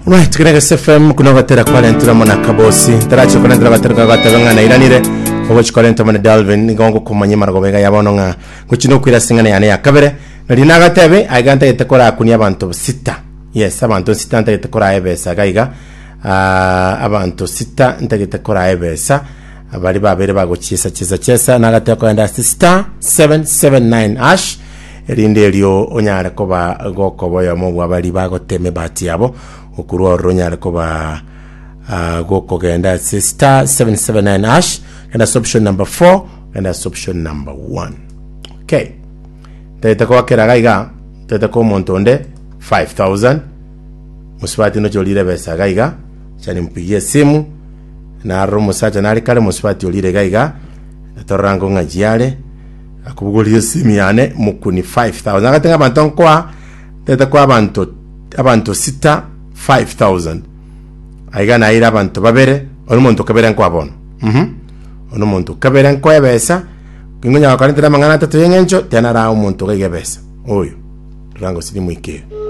Right, kera gese FM kuna gotera kwarentire amo na Kabosi. Tarachi korentera gotera goteba ng'a nairanire. Ogochi korenta amo na Dalvin nigo ngokomanya maragoba iga ya bono ng'a gochi nokwira ase eng'ana yane ya kabere. Nari nagatebe aiga ntagete korakunia abanto sita. Yes, abanto sita ntagete koraa ebesa iga iga. Ah, abanto sita ntagete koraa ebesa. Bari babere bagochiesa chesa chesa nagateba kogenda ase star 779 hash erinde erio onyare koba gokoba oyomo bwa baria bagotema ebahati yabo, okorwa ororo onyare koba ah, gokogenda ase star 779 hash, genda ase option number 4, genda ase option number 1. Okay. Ntagete koakera iga iga, ntagete koa omonto onde 5000, mosubati noche orire ebesa iga iga, acha nimpigie esimu, narora omosacha nare kare mosubati orire iga iga, torora ngong'achi are, Akobogoria esimi yane mokuni 5000 agate ng'a abanto nkoa tete koa abanto abanto sita 5000 aiga naire abanto babere one omonto kabere nkoa bono mhm one omonto kabere nkoa ebesa ningonyara korentera amang'ana atato y'eng'encho tena narae omonto iga iga ebesa oyo rora gose nimoikere.